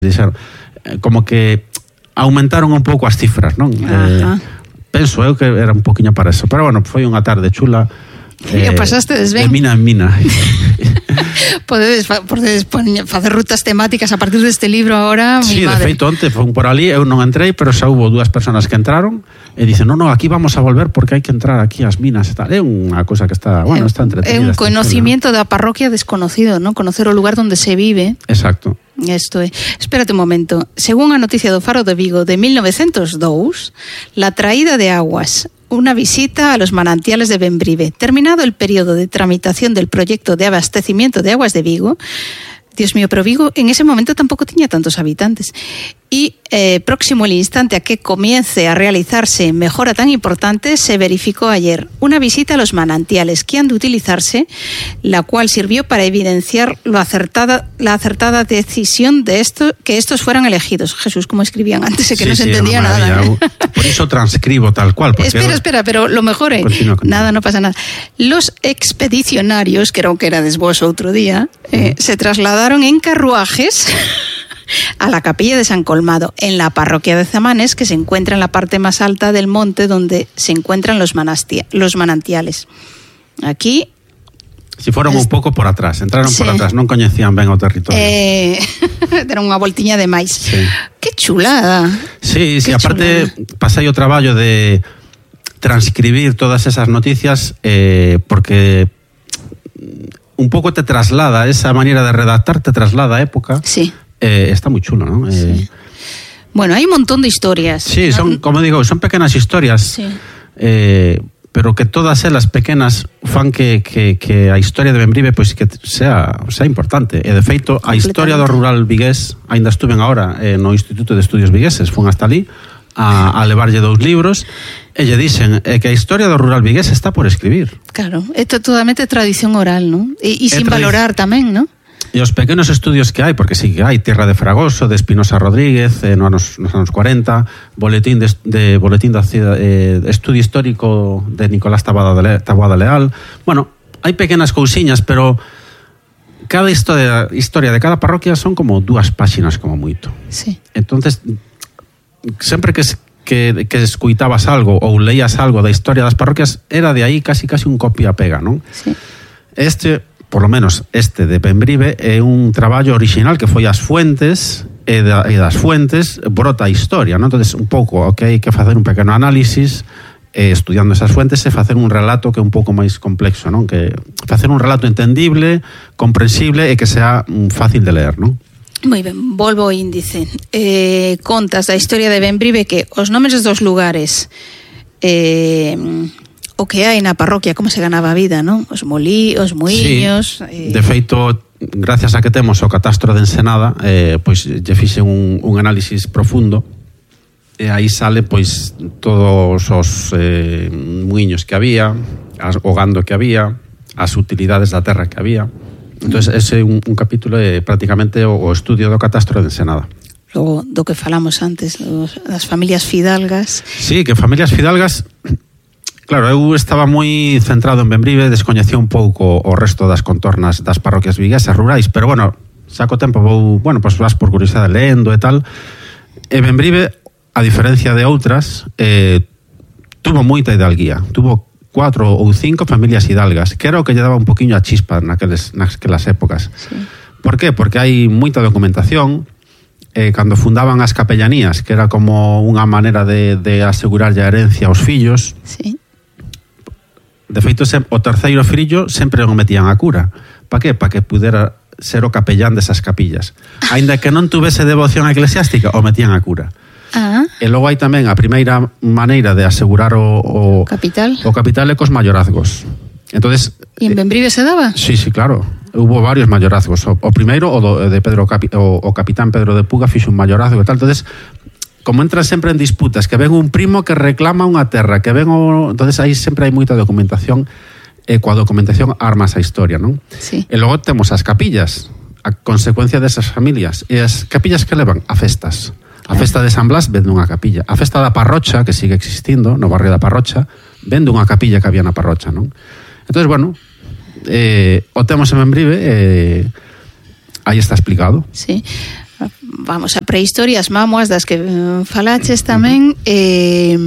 Dixeron, como que aumentaron un pouco as cifras, non? Penso eu que era un poquinho para eso. Pero bueno, foi unha tarde chula. Pasastes ben. De mina en mina. Podedes facer rutas temáticas a partir deste libro agora. Sí, de feito, onte fue por ali, eu non entrei, pero xa hubo 2 personas que entraron e dicen, no, aquí vamos a volver porque hai que entrar aquí ás minas e tal. É unha cousa que está, bueno, está entretenida. É un conocimiento da parroquia desconocido, non? Conocer o lugar onde se vive. Exacto. Esto é. Espérate un momento. Según a noticia do Faro de Vigo de 1902, la traída de aguas, una visita a los manantiales de Bembrive. Terminado el periodo de tramitación del proyecto de abastecimiento de aguas de Vigo, Dios mío, pero Vigo en ese momento tampoco tenía tantos habitantes. Y próximo el instante a que comience a realizarse mejora tan importante, se verificó ayer una visita a los manantiales que han de utilizarse, la cual sirvió para evidenciar la acertada decisión de que estos fueran elegidos. Jesús, como escribían antes, que no se entendía nada. Por eso transcribo tal cual. Espera, pero lo mejor es... Nada, no pasa nada. Los expedicionarios, que era desvos otro día, se trasladaron en carruajes a la capilla de San Colmado, en la parroquia de Zamanes, que se encuentra en la parte más alta del monte donde se encuentran los manantiales. Aquí... Si fueron un pouco por atrás, entraron por atrás, non coñecían ben o territorio. Deron unha voltiña de máis. Sí. Que chulada. Sí, aparte pasei o traballo de transcribir todas esas noticias porque un pouco te traslada, esa manera de redactar te traslada a época. Sí. Está moi chulo, ¿no? Sí. Bueno, hai un montón de historias. Sí, son, como digo, son pequenas historias, sí. Pero que todas elas pequenas fan que a historia de Bembrive pois que sea importante. E de feito, a historia do rural vigués, ainda estuven agora no Instituto de Estudios Vigueses, fun hasta ali a levarlle 2 libros e lle dixen que a historia do rural vigués está por escribir. Claro, é totalmente tradición oral, ¿no? E sin valorar tamén, ¿no? E os pequenos estudios que hai, porque sí que hai Tierra de Fragoso, de Espinosa Rodríguez, nos anos 40, boletín de estudio histórico de Nicolás Taboada Leal. Bueno, hai pequenas cousiñas, pero cada historia de cada parroquia son como 2 páxinas como moito. Sí. Entonces, sempre que escuitabas algo ou leías algo da historia das parroquias, era de aí casi un copia-pega, non? Sí. Por lo menos este de Bembrive, é un traballo original que foi as fuentes e das fuentes brota a historia, non? Entonces, un pouco, hai que facer un pequeno análisis estudiando esas fuentes e facer un relato que é un pouco máis complexo, non? Que facer un relato entendible, comprensible e que sea fácil de leer, non? Moi ben, volvo ao índice. Contas da historia de Bembrive que os nomes dos lugares o que hai na parroquia, como se ganaba a vida, non? Os muiños... Sí, de feito, gracias a que temos o catastro de Ensenada, pois lle fixe un análisis profundo e aí sale pois todos os muiños que había, o gando que había, as utilidades da terra que había. Entón, ese é un capítulo prácticamente o estudio do catastro de Ensenada. Logo, do que falamos antes, das familias fidalgas... Sí, que familias fidalgas... Claro, eu estaba moi centrado en Bembrive, descoñecía un pouco o resto das contornas das parroquias viguesas rurais, pero bueno, saco tempo, pues vas por curiosidade lendo e tal. E Bembrive, a diferencia de outras, tuvo moita hidalguía, tuvo 4 ou 5 familias hidalgas, que era o que lle daba un poquinho a chispa naquelas épocas. Sí. Por qué? Porque hai moita documentación. Cando fundaban as capellanías, que era como unha maneira de asegurar a herencia aos fillos. Sí. De feito, o terceiro fillo sempre o metían a cura. Pa que? Pa que pudera ser o capellán desas capillas. Ainda que non tuvese devoción eclesiástica, o metían a cura. E logo hai tamén a primeira maneira de asegurar o capital é cos mayorazgos. Entonces, e en Bembrive se daba? Sí, claro. Hubo varios mayorazgos. O primeiro, de Pedro o capitán Pedro de Puga, fixo un mayorazgo e tal. Entonces, como entran sempre en disputas, que ven un primo que reclama unha terra, que ven entonces aí sempre hai moita documentación, e coa documentación armas a historia, non? Sí. E logo temos as capillas, a consecuencia desas familias. E as capillas que levan a festas. A festa de San Blas ven dunha capilla. A festa da Parrocha, que sigue existindo, no barrio da Parrocha, ven dunha capilla que había na Parrocha, non? Entonces, bueno, o temos en Bembrive, aí está explicado. Sí. vamos, a prehistoria, as mámoas das que falaches tamén, e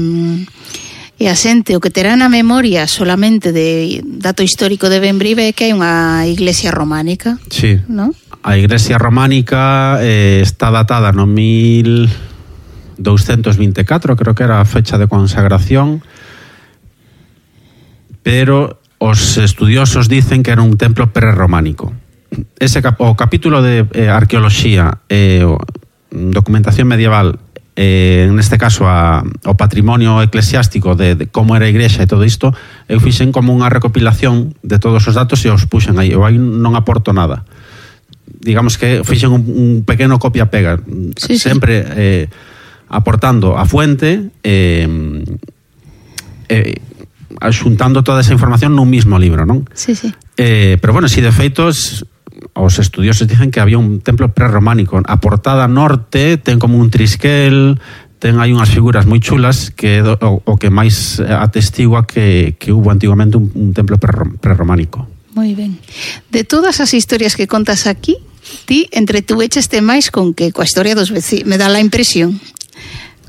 a xente o que terá na memoria solamente de dato histórico de Bembrive é que hai unha iglesia románica. Sí, ¿no? A iglesia románica está datada no 1224, creo que era a fecha de consagración, pero os estudiosos dicen que era un templo prerrománico. O capítulo de arqueoloxía, documentación medieval, neste caso o patrimonio eclesiástico de como era a igrexa e todo isto, eu fixen como unha recopilación de todos os datos e os puxen aí. Eu aí non aporto nada. Digamos que fixen un pequeno copia-pega, sí, sempre aportando a fuente, xuntando toda esa información nun mismo libro, non? Sí, sí. Pero bueno, si de feito os estudiosos dicen que había un templo prerrománico. A portada norte ten como un trisquel, ten aí unhas figuras moi chulas que o que máis atestigua que hubo antigamente un templo prerrománico. Moi ben. De todas as historias que contas aquí, ti entretuécheste máis con que coa historia dos veciños, me dá a impresión,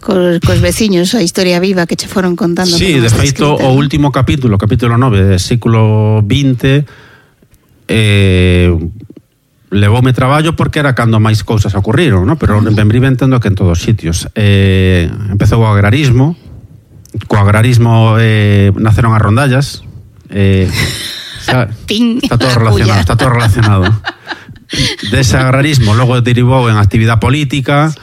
cos veciños, a historia viva que che foron contando. Sí, de feito, o último capítulo 9, século XX, levoume traballo porque era cando máis cousas ocurriron, ¿no? Pero en Bembrive entendo que en todos os sitios. Empezou o agrarismo, co agrarismo naceron as rondallas, está todo relacionado. Dese agrarismo logo derivou en actividade política,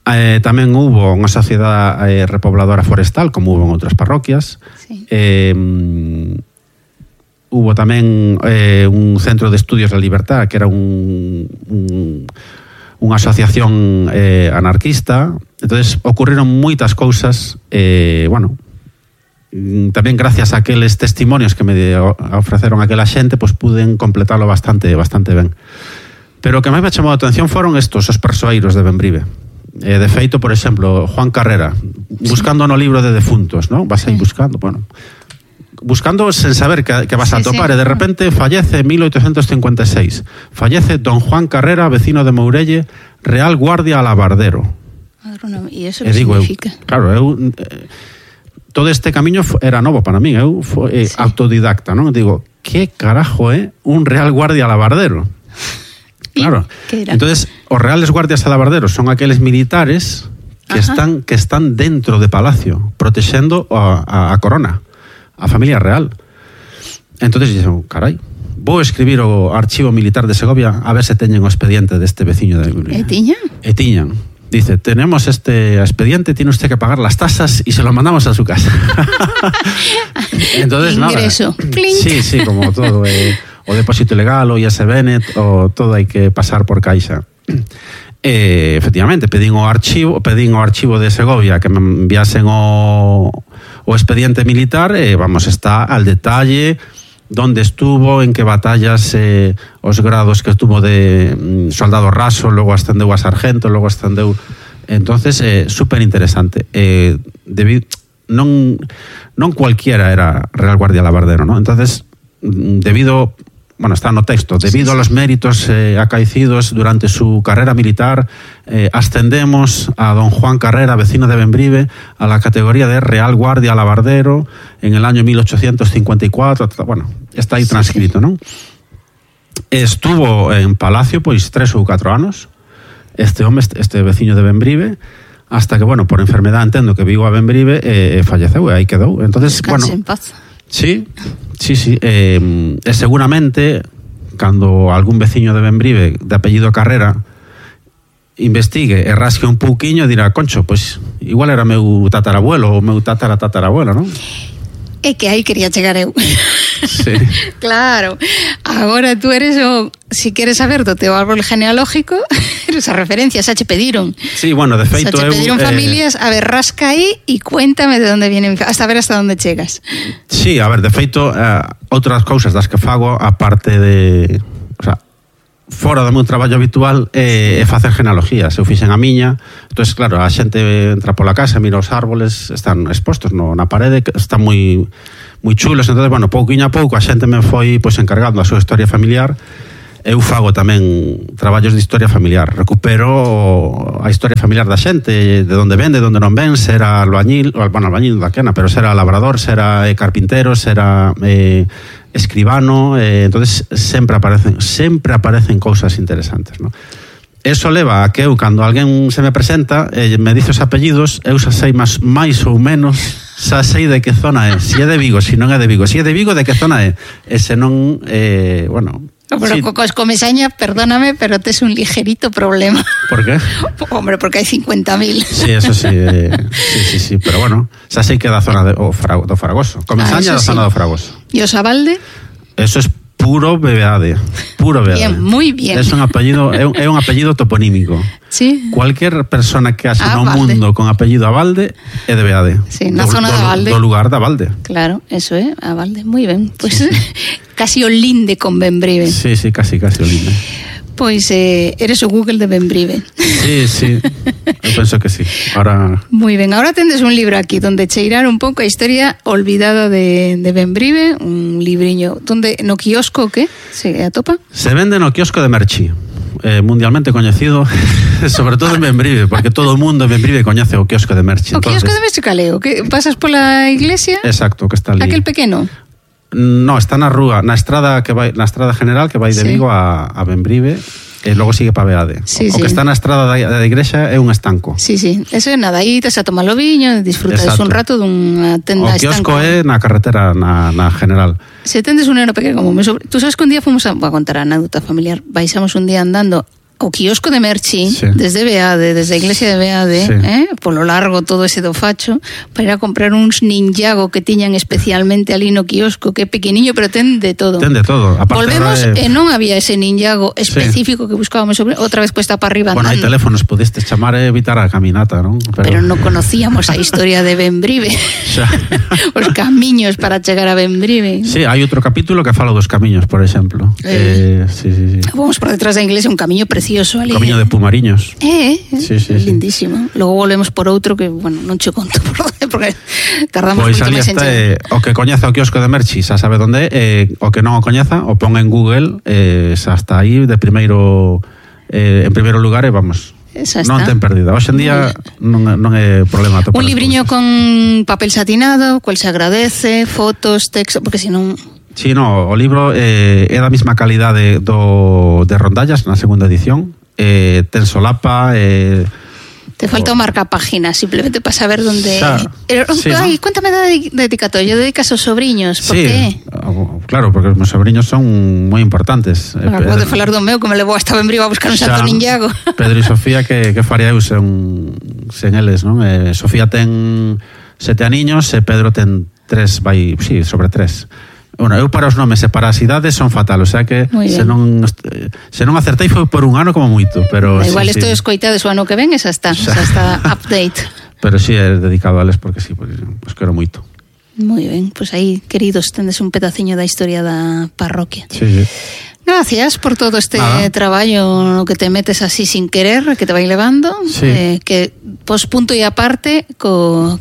tamén hubo unha sociedade repobladora forestal, como hubo en outras parroquias. Sí. Hubo tamén un centro de estudios da libertad, que era unha asociación anarquista. Entonces ocurriron moitas cousas, bueno, tamén gracias a aqueles testimonios que me ofreceron aquela xente, pues puden completalo bastante ben. Pero o que máis me chamou a atención foron estos, os persoeiros de Bembrive. De feito, por exemplo, Juan Carrera, buscando no libro de defuntos, ¿no? Vas aí buscando, bueno, buscando sen saber que vas a topar, e de repente fallece en 1856. Fallece don Juan Carrera, vecino de Mourelle, Real Guardia Alabardero. E iso que significa? Claro, todo este camiño era novo para mí, eu foi autodidacta, non? Digo, que carajo é un Real Guardia Alabardero? Claro. Entonces, os Reales Guardias Alabarderos son aqueles militares que están dentro de palacio, protexendo a corona, a familia real. Entonces dixen, carai, vou escribir o Archivo Militar de Segovia a ver se teñen o expediente deste veciño de Bembrive. E tiñan? Dice, tenemos este expediente, tiene usted que pagar las tasas y se lo mandamos a su casa. Entonces, ingreso. Nada. Sí, como todo. O depósito legal, o ISBN, o todo hai que pasar por Caixa. Efectivamente, pedín o archivo de Segovia que me enviasen o expediente militar, vamos, está al detalle dónde estuvo, en que batallas, os grados que estuvo de soldado raso, logo ascendeu a sargento, logo ascendeu. Entonces, súper interesante. Non cualquiera era Real Guardia Alabardero, ¿no? Entonces, está no texto, debido a los méritos acaecidos durante su carrera militar, ascendemos a don Juan Carrera, vecino de Bembrive, a la categoría de Real Guardia Alabardero en el año 1854. Bueno, está aí transcrito, ¿no? Estuvo en Palacio, pois 3 ou 4 anos, este veciño de Bembrive, hasta que, bueno, por enfermedad entendo que vivo a Bembrive e falleceu, e aí quedou. Entonces, descanse en paz. Sí. Seguramente, cando algún veciño de Bembrive de apellido Carrera investigue e rasque un pouquiño, dirá, concho, pois igual era meu tatarabuelo ou meu tatarabuelo, non? É que aí quería chegar eu. Sí. Claro. Agora tú eres si queres saber do teu árbol genealógico, eres a referencia, xa che pediron. Sí, bueno, de feito xa che pediron familias, a ver, rasca aí e cuéntame de onde viene, hasta ver hasta onde chegas. Sí, a ver, de feito, outras cousas das que fago, aparte de, fora do meu traballo habitual, é facer genealogías. Eu fixen a miña, entón, claro, a xente entra pola casa, mira os árboles, están expostos na parede, están moi chulos. Entón, bueno, pouquiño a pouco a xente me foi encargando a súa historia familiar, eu fago tamén traballos de historia familiar, recupero a historia familiar da xente, de onde ven, de onde non ven, se era albañil, bueno, albañil daquena, pero se era labrador, se era carpintero, se era escribano, entonces sempre aparecen cousas interesantes, ¿no? Eso leva a que eu, cando alguén se me presenta me dice os apellidos, eu xa sei máis ou menos, xa sei de que zona é, se é de Vigo, se non é de Vigo, se é de Vigo, de que zona é, e se non, bueno... Pero sí. Cos Comesaña, perdóname, pero tes un ligerito problema. ¿Por qué? Hombre, porque hai 50.000. Sí, eso sí, sí, pero bueno, xa sei que é da zona do Fragoso. Comesaña da zona do Fragoso. E o Sabalde? Eso es puro BBAD, puro BBAD. Bien, muy bien. Es un apellido, é un apellido toponímico. Sí. Cualquier persona que haxa no mundo con apellido Abalde é de BBAD. Sí, na zona de Abalde. Do lugar de Abalde. Claro, eso é, Abalde, moi ben. Pois sí. Casi o linde con Bembrive. Sí, casi o linde. Pois eres o Google de Bembrive. Sí, eu penso que sí. Ahora... Moi ben, ahora tendes un libro aquí donde cheirar un pouco a historia olvidada de Bembrive, un libriño donde no quiosco, que se atopa? Se vende no quiosco de Merchi, mundialmente coñecido, sobre todo en Bembrive, porque todo o mundo en Bembrive coñece o quiosco de Merchi. O quiosco de Merchi caleo, que pasas pola iglesia? Exacto, que está ali. Aquel pequeno? No, está na rúa, na estrada general que vai de Vigo a Bembrive, e logo sigue para Beade. O que está na estrada da igrexa é un estanco. Sí, eso é nada, aí te a tomar o viño, disfrutas un rato dunha tenda estanco. O quiosco é na carretera, na general. Se tendes un neno pequeno como tú sabes que un día fomos a contar a anécdota familiar, baixamos un día andando o quiosco de Merchi, sí. Desde Beade, desde a iglesia de Beade, sí. Polo largo todo ese do facho, para ir a comprar uns ninjago que tiñan especialmente ali no quiosco, que é pequeniño, pero ten de todo. Ten de todo. Volvemos e non había ese ninjago específico, sí. Que buscábamos sobre, outra vez cuesta para arriba. Bueno, hai teléfonos, podestes chamar e evitar a caminata, non? Pero non conocíamos a historia de Bembrive. Os camiños para chegar a Bembrive. Sí, hai outro capítulo que fala dos camiños, por exemplo. Sí. Vamos por detrás da iglesia, un camiño precioso ali. Camiño de Pumariños. Sí. Lindísimo. Logo volvemos por outro que, bueno, non che conto por onde, porque tardamos pois moito máis en chegar. O que coñeza o quiosco de Merchi xa sabe onde é, o que non o coñeza o pon en Google, xa está aí de primeiro en primeiro lugar e vamos. Non ten perdida. Hoxe en día non é problema atopar. Un libriño con papel satinado, cual se agradece, fotos, texto, porque senón... Sí, no, o libro é da mesma calidade de Rondallas na segunda edición, ten solapa, te falta o marcapágina, simplemente para saber donde... Sí, Ay, ¿no? Cuéntame da dedicatoria, dedicas aos sobriños, por qué? Claro, porque os meus sobriños son moi importantes. Acabo de falar do meu, que me levou hasta Bembrive a buscar un santo ninjago. Pedro e Sofía, que faría eu sen eles, non? Sofía ten 7 aniños e Pedro ten 3, sobre 3. Bueno, eu para os nomes e para as idades son fatal, o sea que se non acertei foi por un ano como moito, pero igual isto escoitades o ano que ven, esa está update. Pero si é dedicado a eles porque pues quero moito. Moi ben, pois aí, queridos, tendes un pedaciño da historia da parroquia. Sí. Gracias por todo este traballo no que te metes así sin querer, que te vai levando, que pos punto e aparte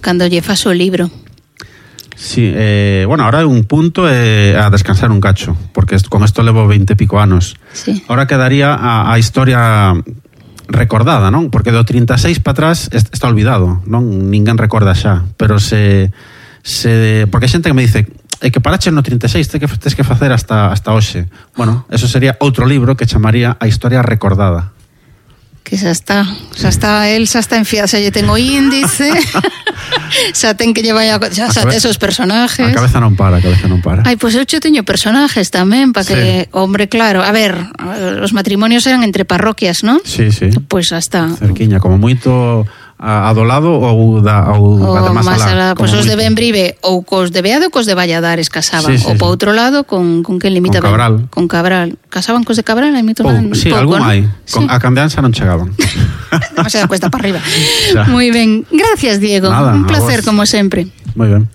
cando lle fas o libro. Sí, bueno, ahora un punto a descansar un cacho, porque con esto levo 20 e pico anos. Sí. Ahora quedaría a historia recordada, non? Porque do 36 para atrás está olvidado, non? Ninguén recorda xa, pero porque hai xente que me dice que parache no 36, tes que facer hasta hoxe. Bueno, eso sería outro libro que chamaría A historia recordada. Que xa está enfiada, xa lle ten o índice, xa ten que llevar xa ten esos personajes. A cabeza non para. Ai, pois eu teño personajes tamén, para que, hombre, claro, a ver, os matrimonios eran entre parroquias, non? Sí. Pois xa está. Cerquiña, como moito a do lado ou da máis alá. Pois os de Bembrive ou cos de Beade ou cos de Valladares casaban, ou po outro lado con quen limita con Cabral. Casaban cos de Cabral, hai moito pouco. Sí, algún hai. A Cambianza non chegaban. Demasiada cuesta para arriba. Moi ben. Gracias, Diego. Nada, un placer como sempre. Moi ben.